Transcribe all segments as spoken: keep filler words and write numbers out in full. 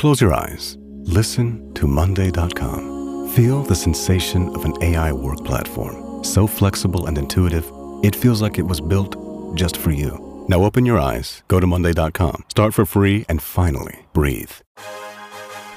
Close your eyes. Listen to Monday dot com. Feel the sensation of an A I work platform. So flexible and intuitive, it feels like it was built just for you. Now open your eyes, go to Monday dot com, start for free, and finally breathe.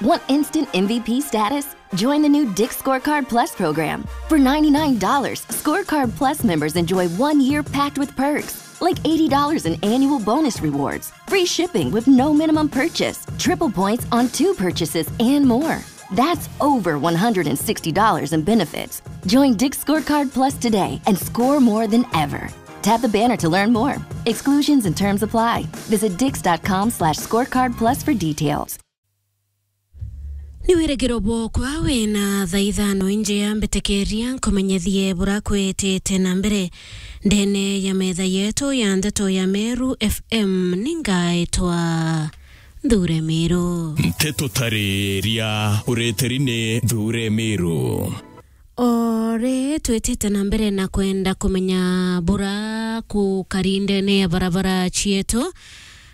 Want instant M V P status? Join the new Dick's Scorecard Plus program. For ninety-nine dollars, Scorecard Plus members enjoy one year packed with perks, like eighty dollars in annual bonus rewards, free shipping with no minimum purchase, triple points on two purchases, and more. That's over one hundred sixty dollars in benefits. Join Dick's Scorecard Plus today and score more than ever. Tap the banner to learn more. Exclusions and terms apply. Visit dicks dot com slash scorecard plus for details. Ni wirigiro bwokwa wina thaa ithano injia mbitikiria nkumenyethie bura kwitite na mbere ndene ya metha yetu ya ndeto ya Meru F M. Ningaitwa Nthure Miru. Nteto tariria ureteri ni Nthure Miru. Ori twitite na mbere na kwenda kumenya bura kukari ndene ya barabara cietu,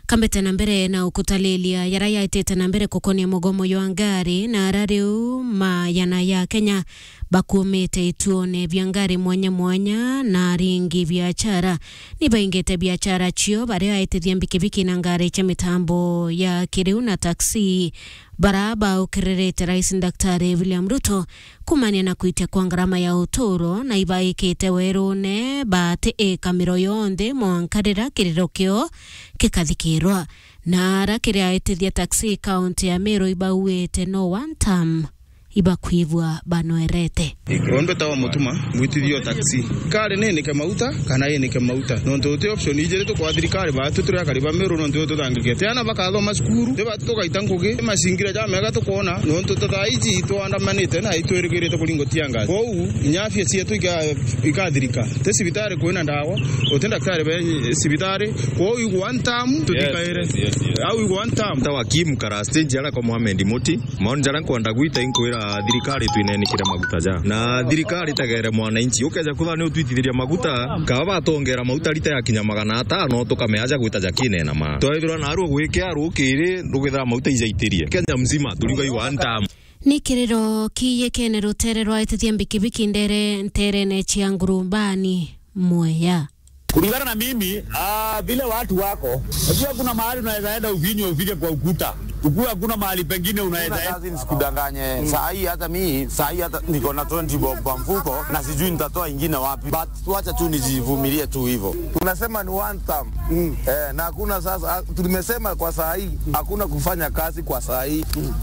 kambite na mbere na ukutalilia yara yaitite na mbere kukonia mugomo jwa ngari, na ara riu mayana ya Kenya bakumite ituone bia ngari mwanya mwanya na aringi biachara. Ni baingite biachara cio baria aitithia mbikibiki na ngari cia mitambo ya kiriu na taxi, bara baukiririte Rais Daktari William Ruto kumania na kwitia kwa ngarama ya uturo, na ibaikite werune bati ikamiro yonthe mwanka rira kiriro kio gikathikirwa. Na ara kiri aitithia taxi kaunti ya Meru ibauite no one term, ibakwivua banoerete. Ondu tawa mutuma, mwitithio taxi. Kari ni inike mauta, kana inike mauta. Nontu uti option ijiri tukwa thirikari, batu turi akari ba Meru, nontu tutangikite. Ana bakathoma cukuru, ti batu tugaita ngugi, macingira ja mega tukona, nontu ta thaa iji itwandamanite na itwirigirite kuringo tia ngazi. Kwou, inya afya cietu ika-, ikathirika. Ti cibitari kwina ndawa, uti ndaktari be cibitari, kwou igwa one term, tuthikaire. Yes, yes, yes, yes. Au igwa one term. Tawa Kim Kara stage ara kwa Mohamed Muti. Maoni jaria nkwenda gwita inkwira thirikari twinenikire maguta ja. Na thirikari itegere mwananchi. Ukeja kwithira ni utwitithiria maguta, kaba batongera maguta rita ya kinya magana atano, tukamea aja gwita ja kinena ma. Twethirwa na aru gwikea rukiri, rugithira maguta ijaitirie. Kenya mzima, turiuga iwa ntamu. Ni kiriro kiyekene rutere rwa itithia mbikibiki ndere, nterene cia Ngurubani, Mwea. Kulingana na mimi, ah, vile watu wako, unajua kuna mahali unaweza enda ufinywe ufike kwa ukuta. Ukue hakuna mahali pengine unaweza enda. Kazi nisikudanganye. Mm. Saa hii hata mi, saa hii hata niko na twenty bob kwa mfuko na sijui nitatoa ingine wapi. But wacha tu nijivumilie tu hivyo. Tunasema ni one term. Mm. Eh, na hakuna sasa, ah, tumesema kwa saa hii, hakuna kufanya kazi kwa saa hii. Mm.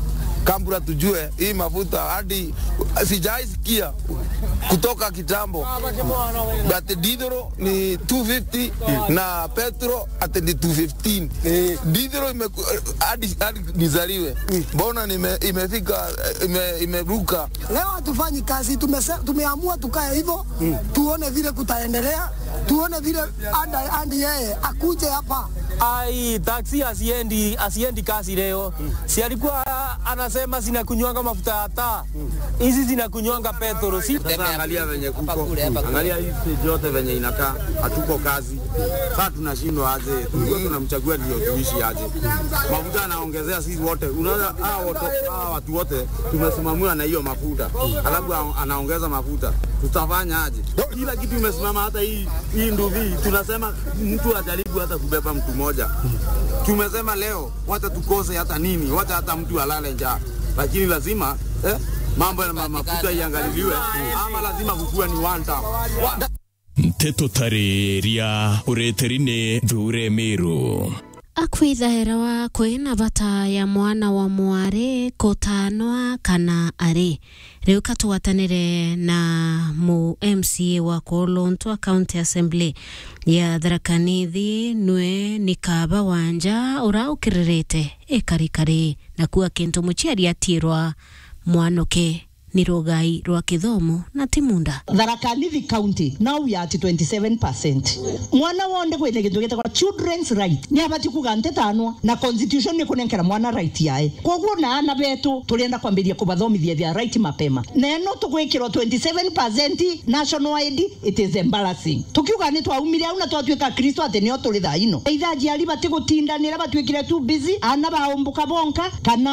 Kabla tujue hii mafuta hadi sijaisikia kutoka kitambo. But diesel ni two fifty na petrol ati ni two fifteen. Eh. Diesel ime-, hadi, hadi nizaliwe. Mm. Mbona nime-, imefika, ime-, imeruka? Leo hatufanyi kazi, tumese-, tumeamua tukae hivyo, mm, tuone vile kutaendelea, tuone vile anda-, andi yeye akuje hapa. Ai, taxi asiendi, asiendi kazi leo. Mm. Si alikuwa anasema zinakunywanga mafuta ya taa. Hizi zinakunywanga petrol, si? Sasa angalia venye kuko. Angalia hii stage yote venye inakaa. Hatuko kazi. Sasa tunashindwa aje? Tulikuwa tunamchagua ndio tuishi aje? Mafuta anaongezea sisi wote. Unaona hawa watu, hawa watu wote tumesimamiwa na hiyo mafuta. Alafu a-, anaongeza mafuta. Tutafanya aje? Kila kitu imesimama, hata hii, hii nduvi. Tunasema mtu ajaribu hata kubeba mtu moja. Tumesema leo wacha tukose hata nini, wacha hata mtu alale njaa, lakini lazima, eh, mambo ya ma-, mafuta iangaliliwe, ama lazima kukue ni one term. Nteto tariria ureteri ni Nthure Miru. Akwithaira wa kwina bata ya mwana wa mwari kutanwa kana ari. Riu ka tugwatanire na mu M C A wa Kolontwa County Assembly ya Tharaka Nithi, nwe ni kaba wanja ura ukiririte ikarikari, na kuwa kintu muciari atiirwa mwanuke ni rugai rwa kithomo na ti munda. Tharaka Nithi County, now we are at twenty-seven percent. Mwana wonthe kwina gintu gitagwa children's right, ni abati kuga ntitanwa, na constitution ni kunenkera mwana right yae. Koguo na ana betu turienda kwambiria kubathomithia their right mapema. Na eno tugwikirwa twenty-seven percent national I D, it is embarrassing. Tukiuga ni twaumire au na twatuika Akristo ati nio turi thaa ino. Either aciari batigutindanira, batuikire too busy, ana baumbuka bonka, kana